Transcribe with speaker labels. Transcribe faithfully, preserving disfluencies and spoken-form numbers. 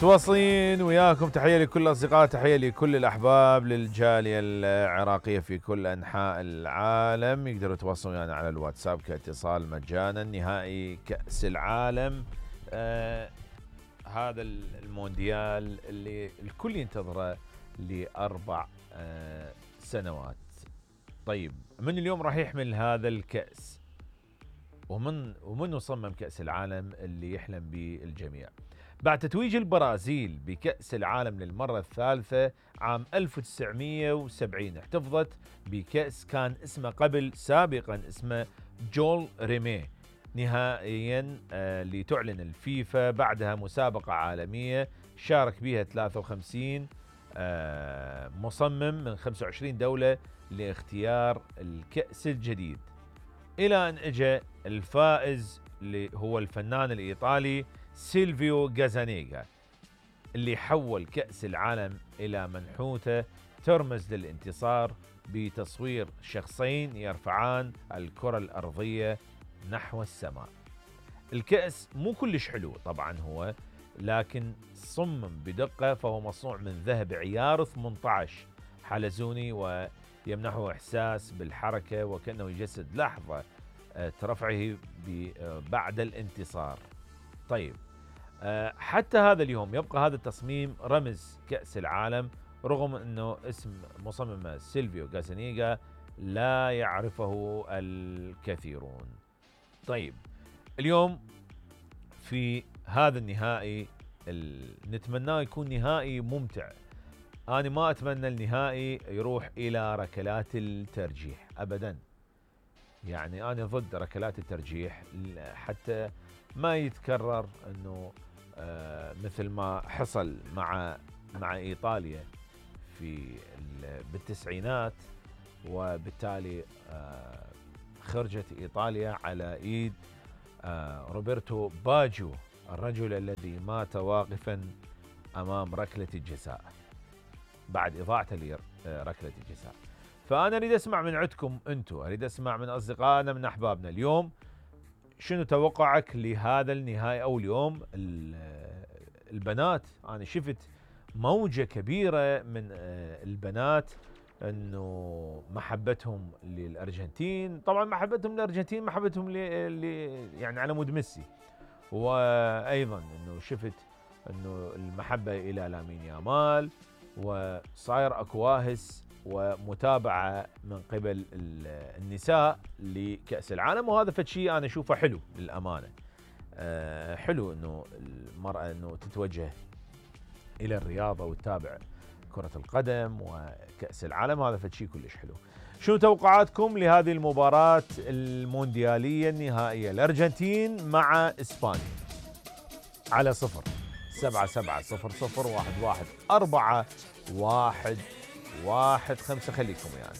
Speaker 1: تواصلين وياكم. تحية لكل الأصدقاء، تحية لكل الأحباب، للجالية العراقية في كل أنحاء العالم. يقدروا يتواصلون ويانا على الواتساب كاتصال مجانا. نهائي كأس العالم، آه هذا المونديال اللي الكل ينتظره لأربع آه سنوات. طيب، من اليوم راح يحمل هذا الكأس؟ ومن ومن صمم كأس العالم اللي يحلم به الجميع؟ بعد تتويج البرازيل بكأس العالم للمرة الثالثة عام ألف وتسعمئة وسبعين، احتفظت بكأس كان اسمه قبل سابقا اسمه جول ريمي نهائيا، آه لتعلن الفيفا بعدها مسابقة عالمية شارك بها ثلاثة وخمسين آه مصمم من خمسة وعشرين دولة لاختيار الكأس الجديد، إلى أن اجى الفائز اللي هو الفنان الإيطالي سيلفيو غازانيغا، اللي حول كأس العالم إلى منحوتة ترمز للانتصار بتصوير شخصين يرفعان الكرة الأرضية نحو السماء. الكأس مو كلش حلو طبعا هو، لكن صمم بدقة، فهو مصنوع من ذهب عيار ثمانية عشر حلزوني، ويمنحه إحساس بالحركة وكأنه يجسد لحظة رفعه بعد الانتصار. طيب، حتى هذا اليوم يبقى هذا التصميم رمز كأس العالم، رغم أنه اسم مصمم سيلفيو غازانيغا لا يعرفه الكثيرون. طيب، اليوم في هذا النهائي نتمناه يكون نهائي ممتع. أنا ما أتمنى النهائي يروح إلى ركلات الترجيح أبدا، يعني أنا ضد ركلات الترجيح حتى ما يتكرر أنه آه مثل ما حصل مع مع إيطاليا في بالتسعينات، وبالتالي آه خرجت إيطاليا على إيد آه روبرتو باجيو، الرجل الذي مات واقفا أمام ركلة الجزاء بعد إضاعته لركلة الجزاء. فأنا أريد أسمع من عندكم أنتم، أريد أسمع من أصدقائنا، من أحبابنا اليوم، شنو توقعك لهذا النهائي؟ أو اليوم البنات، أنا شفت موجة كبيرة من البنات أنه محبتهم للأرجنتين، طبعا محبتهم للأرجنتين محبتهم ل يعني على مود ميسي، وأيضا أنه شفت أنه المحبة إلى لامين يامال، وصاير أكواهس ومتابعة من قبل النساء لكأس العالم، وهذا فشي أنا أشوفه حلو للأمانة. أه حلو أنه المرأة أنه تتوجه إلى الرياضة وتتابع كرة القدم وكأس العالم، هذا فشي كلش حلو. شنو توقعاتكم لهذه المباراة المونديالية النهائية، الأرجنتين مع إسبانيا؟ على صفر سبعة سبعة صفر صفر واحد واحد أربعة واحد واحد خمسة، خليكم يعني.